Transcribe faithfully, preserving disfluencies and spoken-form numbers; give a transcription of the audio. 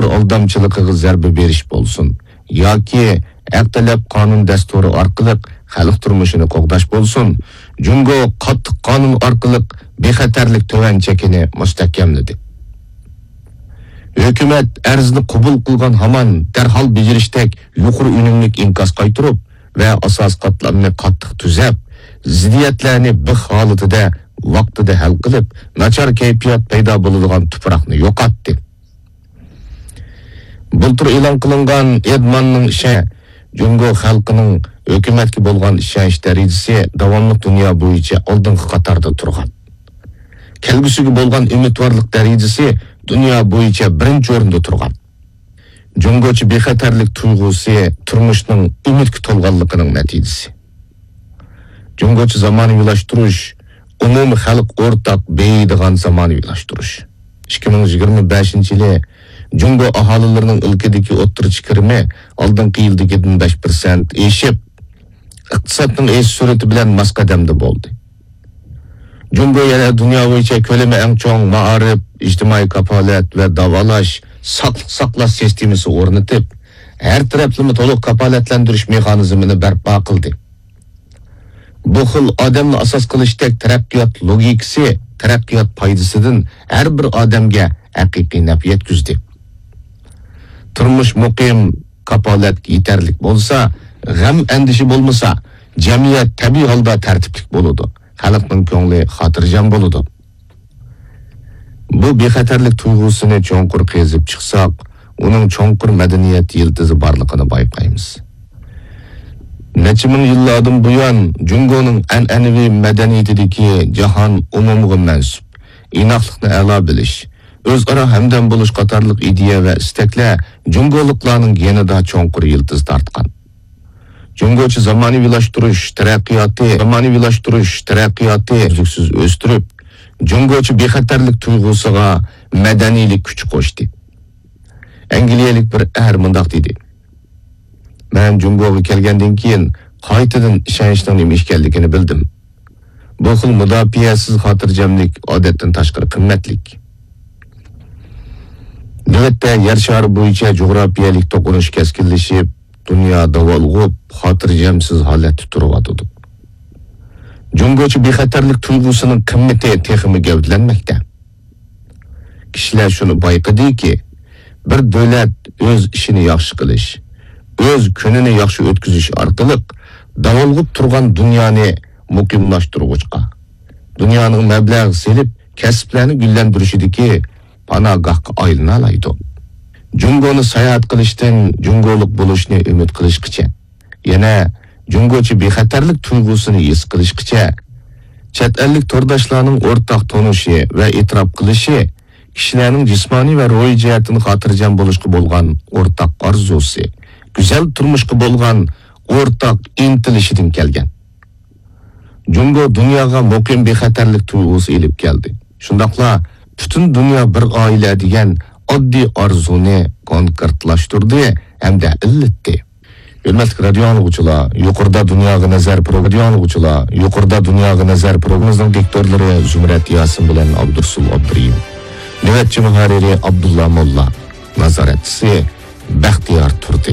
ئالدامچىلىقىغا زەربە بېرىش بولسۇن ياكى ھەق تەلەپ قانۇن دەستۇرى ئارقىلىق خەلق تۇرمۇشىنى قوغداش بولسۇن، جۇڭگو قاتتىق قانۇن ئارقىلىق بىخەتەرلىك تۆۋەن چېكىنى مۇستەھكەملىدى. ھۆكۈمەت ئەرزنى قوبۇل قىلغان ھامان دەرھال بېجىرىشتەك يۇقىرى ئۈنۈملۈك ئىنكاس قايتۇرۇپ ۋە ئاساسىي قاتلامنى قاتتىق تۈزەپ، زىددىيەتلەرنى بىخ ھالىتىدە ۋاقتىدا ھەل قىلىپ، ناچار كەيپىيات پەيدا بولىدىغان تۇپراقنى يوقاتتى. بۇلتۇر ئېلان قىلىنغان ئېدماننىڭ ئىشى جۇڭگو خەلقىنىڭ ھۆكۈمەتكە بولغان ئىشەنچ دەرىجىسى داۋاملىق دۇنيا بويىچە ئالدىنقى قاتاردا تۇرغان. كەلگۈسىگە بولغان ئۈمىدۋارلىق دەرىجىسى دۇنيا بويىچە بىرىنچى ئورۇندا تۇرغان. جۇڭگوچە بىخەتەرلىك تۇيغۇسى تۇرمۇشنىڭ ئۈمىدكە تولغانلىقىنىڭ نەتىجىسى. جۇڭگوچە زامانىۋىلاشتۇرۇش، ئومۇمىي خەلق ئورتاق بېيىيدىغان زامانىۋىلاشتۇرۇش. ئىككى مىڭ يىگىرمە بەشىنچى يىلى جۇڭگو ئاھالىلىرىنىڭ ئىلكىدىكى ئوتتۇرىچە كىرىمى ئالدىنقى يىلدىكىدىن بەش پىرسەنت ئېشىپ، ئىقتىسادنىڭ ئېشىش سۈرئىتى بىلەن ماس قەدەمدە بولدى. جۇڭگو يەنە دۇنيا بويىچە كۆلىمى ئەڭ چوڭ مائارىپ، ئىجتىمائىي كاپالەت ۋە داۋالاش، ساقلىق ساقلاش سىستېمىسى ئورنىتىپ، ھەر تەرەپلىمە تولۇق كاپالەتلەندۈرۈش مېخانىزمىنى بەرپا قىلدى. بۇ خىل ئادەمنى ئاساس قىلىشتەك تەرەققىيات لوگىكىسى تەرەققىيات پايدىسىدىن ھەر بىر ئادەمگە ھەقىقىي نەپ يەتكۈزدى. تۇرمۇش مۇقىم، كاپالەت يېتەرلىك بولسا، غەم-ئەندىشە بولمىسا، جەمئىيەت تەبىئىي ھالدا تەرتىپلىك بولىدۇ، خەلقنىڭ كۆڭلى خاتىرجەم بولىدۇ. بۇ بىخەتەرلىك تۇيغۇسىنى چوڭقۇر قېزىپ چىقساق، ئۇنىڭ چوڭقۇر مەدەنىيەت يىلتىزى بارلىقىنى بايقايمىز. نەچچە مىڭ يىللاردىن بۇيان، جۇڭگونىڭ ئەنئەنىۋى مەدەنىيىتىدىكى جاھان ئومۇمىغا مەنسۇپ، ئىناقلىقنى ئەلا بىلىش، ئۆزئارا ھەمدەم بولۇش قاتارلىق ئىدىيە ۋە ئىستەكلەر جۇڭگولۇقلارنىڭ گېنىدا چوڭقۇر يىلتىز تارتقان. جۇڭگوچە زامانىۋىلاشتۇرۇش تەرەققىياتى، زامانىۋىلاشتۇرۇش تەرەققىياتى ئۈزلۈكسىز ئۆستۈرۈپ، جۇڭگوچە بىخەتەرلىك تۇيغۇسىغا مەدەنىيلىك كۈچ قوشتى. ئەنگلىيەلىك بىر ئەر مۇنداق دېدى: مەن جۇڭگوغا كەلگەندىن كېيىن قايتىدىن ئىشەنچنىڭ نېمە ئىكەنلىكىنى بىلدىم. بۇ خىل مۇداپىئەسىز خاتىرجەملىك ئادەتتىن تاشقىرى قىممەتلىك. نۆۋەتتە يەر شارى بويىچە جۇغراپىيەلىك توقۇنۇش كەسكىنلىشىپ، دۇنيا داۋالغۇپ، خاتىرجەمسىز ھالەتتە تۇرۇۋاتىدۇ. جۇڭگوچە بىخەتەرلىك تۇيغۇسىنىڭ قىممىتى تېخىمۇ گەۋدىلەنمەكتە. كىشىلەر شۇنى بايقىدىكى، بىر دۆلەت ئۆز ئىشىنى ياخشى قىلىش، ئۆز كۈنىنى ياخشى ئۆتكۈزۈش ئارقىلىق داۋالغۇپ تۇرغان دۇنيانى مۇقىملاشتۇرغۇچقا، دۇنيانىڭ مەبلەغ سېلىپ كەسىپلەرنى گۈللەندۈرۈشىدىكى پاناھگاھقا ئايلىنالايدۇ. جۇڭگونى ساياھەت قىلىشتىن جۇڭگولۇق بولۇشنى ئۈمىد قىلىشقىچە، يەنە جۇڭگوچە بىخەتەرلىك تۇيغۇسىنى ھېس قىلىشقىچە، چەت ئەللىك تورداشلارنىڭ ئورتاق تونۇشى ۋە ئېتىراپ قىلىشى، كىشىلەرنىڭ جىسمانىي ۋە روھىي جەھەتتىن خاتىرجەم بولۇشقا بولغان ئورتاق ئارزۇسى، گۈزەل تۇرمۇشقا بولغان ئورتاق ئىنتىلىشىدىن كەلگەن. جۇڭگو دۇنياغا مۇقىم بىخەتەرلىك تۇيغۇسى ئېلىپ كەلدى. شۇنداقلا پۈتۈن دۇنيا بىر ئائىلە دېگەن ئاددىي ئارزۇنى كونكرېتلاشتۇردى ھەمدە ئىللىتتى. ھۆرمەتلىك رادىيو ئاڭلىغۇچىلار، يۇقىرىدا دۇنياغا نەزەر پرو-، رادىيو ئاڭلىغۇچىلار، يۇقىرىدا دۇنياغا نەزەر پروگراممىمىزنىڭ دىكتورلىرى زۇمرەت ياسىن بىلەن ئابدۇرۇسۇل ئابدۇرېھىم، نۆۋەتچى مۇھەررىرى ئابدۇللا موللا، نازارەتچىسى بەختىيار تۇردى.